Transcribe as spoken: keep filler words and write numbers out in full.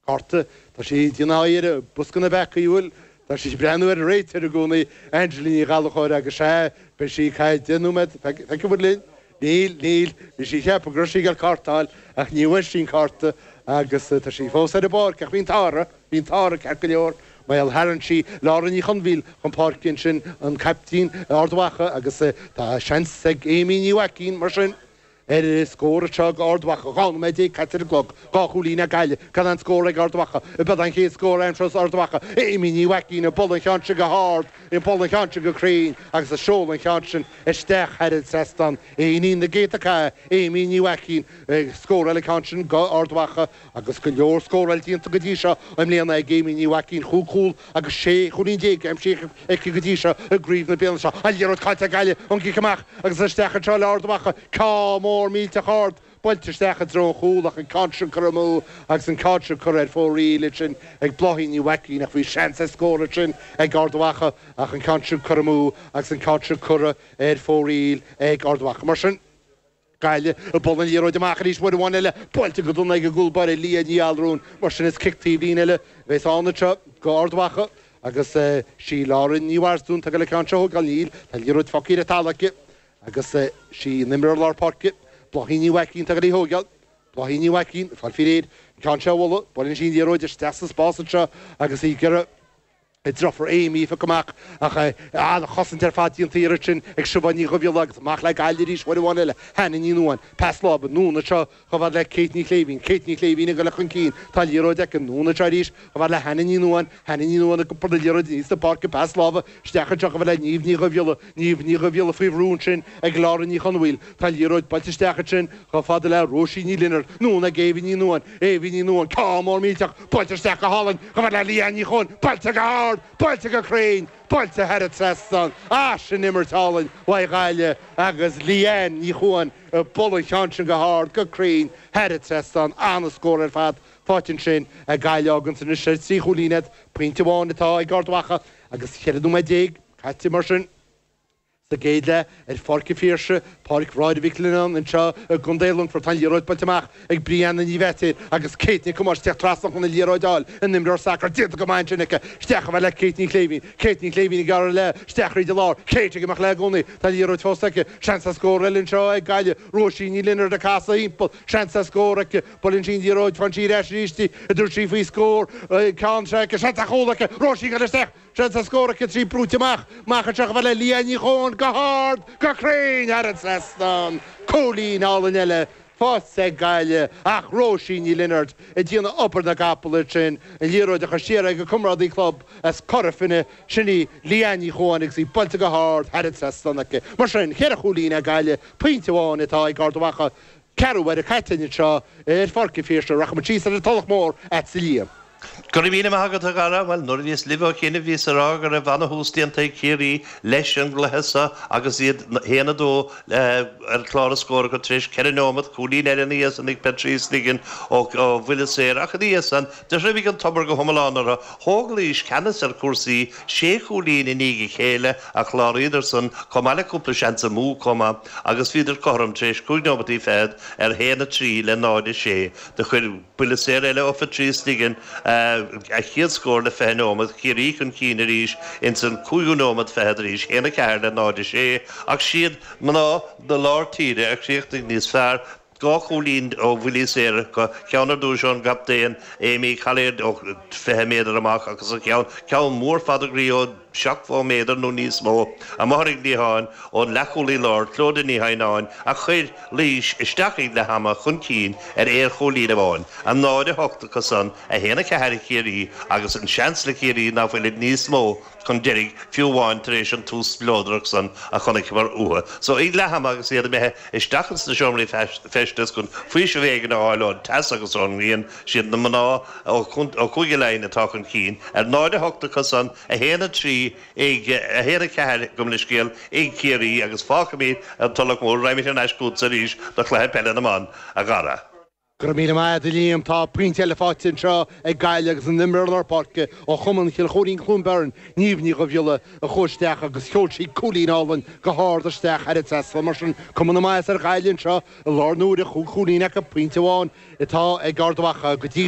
Cárta, tá sí ag déanamh aghaidh ar bhosca na bpeacaí, bhuel, tá sí ag breathnú ar an réiteoir i gcónaí, Angela Ní Ghallchóir, agus sea, beidh sí ag caitheamh deich nóiméad, feicfidh muid linn. Níl, níl, bhí sí ag ceapadh go raibh sí ag dul cárta a fháil, ach ní bhfuair sí an cárta agus tá sí fós ar an bpáirc, ach bhí an t-ádh uirthi, bhí an t-ádh uirthi ceart go leor, mar gheall tharraing sí Laura Ní Chonmhaoil chun páirce ansin, an caiptín Ard Mhacha, agus tá seans ag Amy Ní Mhaicín, mar sin. Ar scór anseo ag Ard Mhacha, dhá nóiméad déag caite ar an gclog, dhá chúilín ag Gaillimh, gan aon scór ag Ard Mhacha. Ab é an chéad scór a aimseos Ard Mhacha. Amy Ní Mhaicín ag bualadh an cheann sin go hard, ag bualadh an cheann sin go cruinn agus ag seoladh an cheann sin isteach thar an trasnán. Éinín na gcéadta cath, Amy Ní Mhaicín ag scóráil an ceann sin go Ard Mhacha agus go leor scóráil déanta go dtí seo i mbliana ag Amy Ní Mhaicín, chúig chúl agus sé chúilín déag aimsithe aici go dtí seo i gcraobh na bliana seo. An liathróid caillte ag Gaillimh ón gcic amach agus isteach anseo le Ard Mhacha. Ceann mór millteach ard buailte isteach i dtreo an chúil ach an ceann sin curtha amú agus an ceann sin curtha ar fóraoil ansin ag Bláithín Ní Mhaicín ach bhí seans ar scór ansin ag Ard Mhacha ach an ceann sin curtha amú agus an ceann sin curtha ar fóraoil ag Ard Mhacha. Mar sin, Gaillimh ag bualadh an liathróid amach arís uair amháin eile, buailte go dona ag an gcúl báire Leah Ní Allrúin. Mar sin is cic taobh líne eile a bheas ann anseo go Ard Mhacha agus sí Lauren Ní Mharsdún atá ag dul an ceann seo a thógáil. Níl, tá an liathróid fágtha ar an talamh aici. Agus sí an imreoir lár páirce, Bláithín Ní Mhaicín, atá ag dul í a thógáil. Bláithín Ní Mhaicín, ag fáil faoi réir an ceann seo a bhualadh. Buaileann sí an liathróid isteach sa spás anseo agus í ag iarraidh a deirfiúr Amy a phiocadh amach ach an-chosaint ar fad déanta an iarraidh sin ag Siobhán Ní Dhubhghiolla agus amach le Gaillimh arís uair amháin eile. Hannah Ní Nuadháin, pas láimhe, anonn anseo chomh fada le Kate Ní Chléibhín. Kate Ní Chléibhín ag dul chun cinn. Tá an liathróid aici. Anonn anseo arís chomh fada le Hannah Ní Nuadháin. Hannah Ní Nuadháin ag iompar na liathróide aníos na páirce. Pas láimhe isteach anseo chomh fada le Niamh Ní Dhubhghiolla. Niamh Ní Dhubhghiolla faoi bhrú ansin ag Laura Ní Chonmhaoil. Tá an liathróid buailte isteach ansin chomh fada le Róisín Ní Lionáird. Anonn ag Éabha Ní Nuadháin. Éabha Ní Nuadháin, ceann mór millteach buailte isteach go hálainn chomh fada le Leanne Ní Chuain. Buailte go hard! Buailte go cruinn! Buailte thar an trasnán! Ah, sin imirt álainn uaidh Ghaillimh agus Leanne Ní Chuain ag bualadh an cheann sin go hard, go cruinn, thar an trasnán. An-scór ar fad faighte ansin ag Gaillimh a fháganns anois ar trí chúilín iad, pointe amháin atá ag Ard Mhacha agus ceithre nóiméad déag caite mar sin sa gcéad leath ar Pháirc an Phiarsaigh, Páirc Mháire Mhic Lionnáin anseo i gContae Longfoirt. Tá an liathróid buailte amach ag Brianna Ní Bheaitéir agus Kate Nic Thomáis ag teacht trasna chun an liathróid a fháil. An imreoir sacair déanta go maith ansin aici. Isteach chomh fada le Kate Ní Chléibhín. Kate Ní Chléibhín ag gearradh léi isteach thríd an lár. Kate ag imeacht léi i gcónaí. Tá an liathróid fós aici. Seans ar scór eile anseo ag Gaillimh. Róisín Ní Lionáird ag casadh thimpeall. Seans ar scór aici. Buaileann sí an liathróid. Faigheann sí ar ais arís í. An dtabharfaidh sí faoi scór. Ceann seo aici. Seans ar chúl aici. Róisín ag dul isteach. Seans ar scór aici trí brúite amach. Amach anseo chomh fada le Leanne Ní Chuain. Go hard, go cruinn thar an trasnán. Cúilín álainn eile faighte ag Gaillimh ach Róisín Ní Lionáird ag déanamh obair na gcapall ansin, an liathróid a chur siar ag a comrádaí club as Cora Finne, sin í Leanne Ní Chuain agus í buailte go hard thar an trasnán aici. Mar sin, ceithre chúilín ag Gaillimh, pointe amháin atá ag Ard Mhacha. Ceathrú uaire caite anseo ar Pháirc an Phiarsaigh. Rachaimid síos ar an Tulach Mhór agatsa a Liam. Go raibh míle maith agat, a Dhara. Bhuel, nuair a bhíos libh ó chianaibh bhíos a rá go raibh ana-thús déanta ag Ciarraí leis an gcluiche seo agus iad haon a dó ar chlár na scór acu tar éis ceithre neomat, cúilín eile ina dhiaidh san ag Patrice Ligon ó bhuille saor ach ina dhiaidh san do thriomaigh an tobar go hiomlán orthu. Thóg Laois ceannas ar chúrsaí, sé chúilín i ndiaidh a chéile a chláraíodar san chomh maith le cúpla seans amú chomh maith agus bhíodar cothrom tar éis cúig neomataí fichead ar haon a trí le náid a sé. Do chuir buille saor eile ó Phatrice Ligon a chéad scór le fiche nóiméad, Ciarraí chun cinn arís ins an cúigiú nóiméad fichead arís, haon a ceathair le náid a sé, ach siad mná na lár tíre a chríochnaigh níos fearr, dhá chúilín ó bhuillí saora acu, ceann ar dtúis ón gcaptaen Amy Collier ó fiche méadar amach agus an ceann, ceann mór fada groí ó seachtó méadar nó níos mó, amuigh ar an gcliathán ón leathchúlaí láir, Clodagh Ní Theimhneáin, a chuir Laois isteach ag leath ama chun cinn ar aon chúilín amháin, a náid a hocht acu san, a haon a ceathair ag Ciarraí agus an seans le Ciarraí ná fuilid níos mó chun deiridh fiú amháin tar éis an tús spleodrach san a chonaiceamar uathu. So ag leath ama agus iad imithe isteach ins na seomraí feistis chun faoiseamh éigin a fháil ón teas agus ón ngrian, siad na mná ó Chúige Laighean atá chun cinn ar náid a hocht acu san, a haon a trí ag, a haon a ceathair, gabh mo leithscéal, ag Ciarraí agus fágfaimid an Tulach Mhór, raghaimid thar n-ais chugatsa arís do chluiche peile na mban, a Dhara. Go raibh míle maith agat, a Liam. Tá pointe eile faighte anseo ag Gaillimh agus an imreoir lár páirce ó chumann Chill Choirín Cluain Bheirn, Niamh Ní Dhubhghiolla, a chuaigh isteach agus sheol sí cúilín álainn go hard isteach thar an trasnán. Mar sin, cuma na maitheasa ar Ghaillimh anseo i láthair na huaire, chúig chúilín acu, pointe amháin atá ag Ard Mhacha go dtí